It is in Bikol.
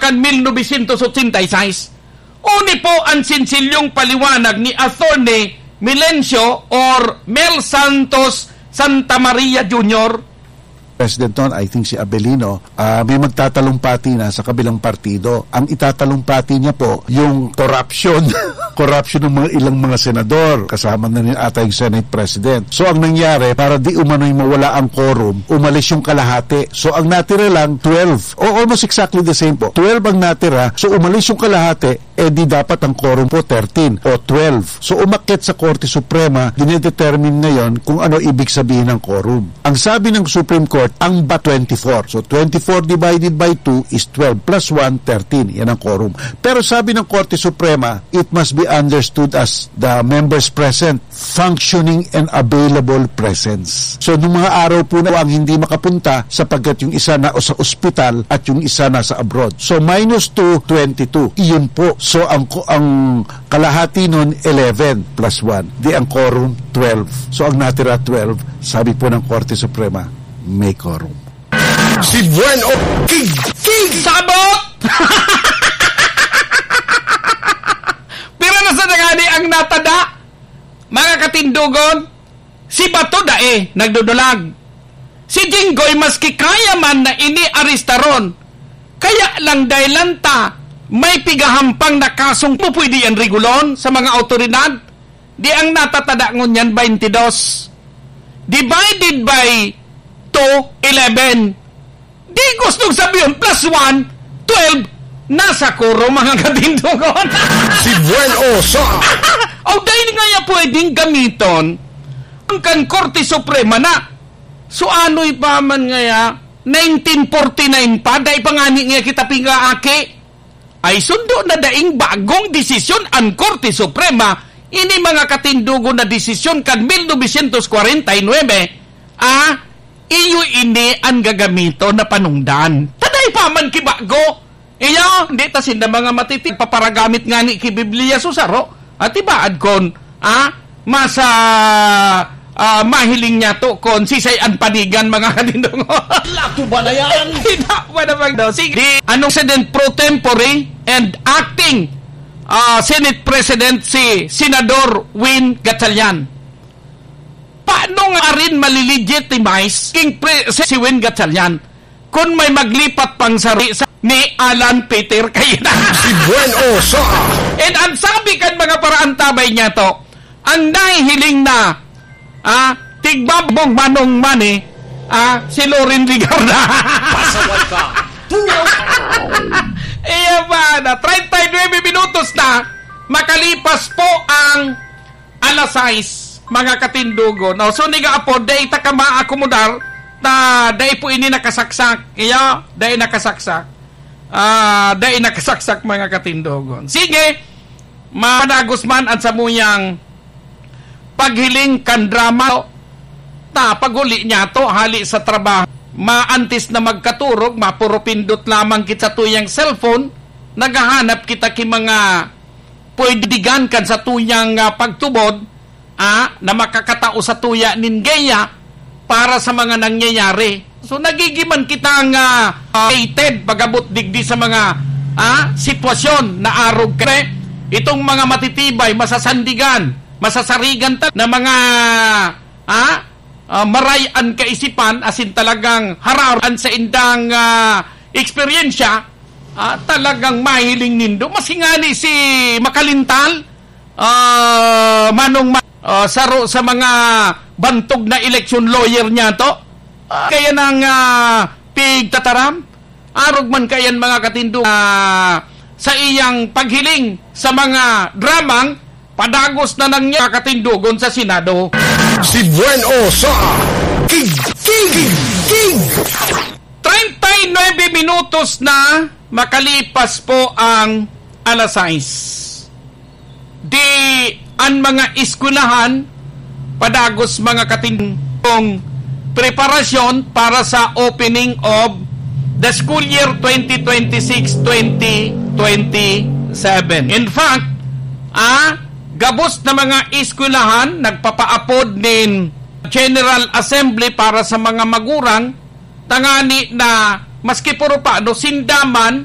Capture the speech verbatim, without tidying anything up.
kan mil novecientos otsenta y seis. Uni po an sensilyong paliwanag ni Attorney Milencio or Mel Santos Santa Maria Junior. President noon, I think si Abelino, ah, may magtatalumpati na sa kabilang partido. Ang itatalumpati niya po, yung corruption. Corruption ng mga ilang mga senador. Kasama na rin ata yung Senate President. So, ang nangyari, para di umano'y mawala ang quorum, umalis yung kalahati. So, ang natira lang, twelve. O, almost exactly the same po. Twelve ang natira. So, umalis yung kalahati, eh di dapat ang quorum po thirteen o twelve. So, umakyat sa Korte Suprema, dinedetermine ngayon kung ano ibig sabihin ng quorum. Ang sabi ng Supreme Court, ang ba twenty-four. So, twenty-four divided by two is twelve, plus one, thirteen. Yan ang quorum. Pero sabi ng Korte Suprema, it must be understood as the members present functioning and available presence. So, nung mga araw po na ang hindi makapunta sapagkat yung isa na o sa ospital at yung isa nasa abroad. So, minus two, twenty-two. Iyon po. So, ang, ang kalahati nun, eleven plus one. Di ang quorum, twelve. So, ang natira, twelve. Sabi po ng Korte Suprema, may quorum. Si Buen o King, King! Sabot! Pira na sa nangani ang natada? Mga katindogon, si Bato dai nagdudulag. Si Jinggoy, maski kaya man na ini arestaron, kaya lang dahil lang ta may pigahampang na kasong pupwede yan rigulon sa mga awtoridad. Di ang natatada ngunyan, twenty-dos. Divided by two, eleven. Di gustong sabihon, plus one, twelve, nasa quorum, mga katindogon. Si Buen Osa. O, dahil nga ya pwedeng gamiton, ang kan Korte Suprema na. So, anoy pa man ngaya, nineteen forty-nine pa, dai pa ngani ngaya kita pingaaki. Ay sundo na daing bagong desisyon an Korte Suprema, ini mga katindogon na desisyon kan mil novecientos kwarenta y nuebe, ah, iyo ini an gagamiton na panungdan. Ta dai pa man ki bago. Iyo, hindi ta sinda mga matiti, paparagamit ngani ki Biblia so saro. At ibaad kon, ah, mas, ah, ah, mahiling niya to kon sisay an panigan, mga katindogon. Lato ba na yan? Hindi pa naman daw. Sige. Di, anong President pro tempore and acting, ah, Senate President si Senador Win Gatchalian? Paano nga arin malilegitimize king pre-, si Win Gatchalian? Kun may maglipat pang sari sa ni Alan Peter Cayetano. Si Buen Osa. And ang sabi kan mga paraantabay niya to, ang nahihiling na, ah, tigbabong manong mani, ah, si Loren Legarda. Pasaway ka. Tunaw. Iya ba na, treinta y nueve minutos na, makalipas po ang alas sais, mga katindogon. O, so, niga apo, dai ta ka maakomodar na dai po ini nakasaksak. Iyo, dai nakasaksak. Ah, dai nakasaksak, mga katindogon. Sige, madagos man an samuyang paghiling kan drama. Ta, pag-uli niya to, hali sa trabaho, maantes na magkaturog, mapuro pindot lamang kita sa tuyang cellphone, naghahanap kita ki mga pwede digan kan sa tuyang, ah, pagtubod, ah, na makakatao sa tuya nin geya para sa mga nangyayari. So, nagigiman kitang, ah, ah, hated pag-abot digdi sa mga, ah, sitwasyon na arog kare. Itong mga matitibay, masasandigan, masasarigan ta-, na mga, ah, ah, maray an kaisipan, asin talagang hararan sa indang, ah, eksperyensya, ah, talagang mahiling nindo. Mas hingani si Makalintal, ah, Manong Ma-, ah, saro sa mga bantog na election lawyer niya to. Ah, kaya nang, ah, pigtataram, arog man kayan mga katindo, ah, sa iyang paghiling sa mga dramang padagos na nang niya katindogon sa Senado. Si Buen Osa, King, King, King. Treinta y nueve minutos na makalipas po ang alas sais. Di an mga eskwelahan padagos mga katindogon preparasyon para sa opening of the school year twenty twenty-six, twenty twenty-seven. In fact, ah, gabos na mga eskwelahan nagpapaapod nin General Assembly para sa mga magurang, tangani na maski puro pa, no, sinda man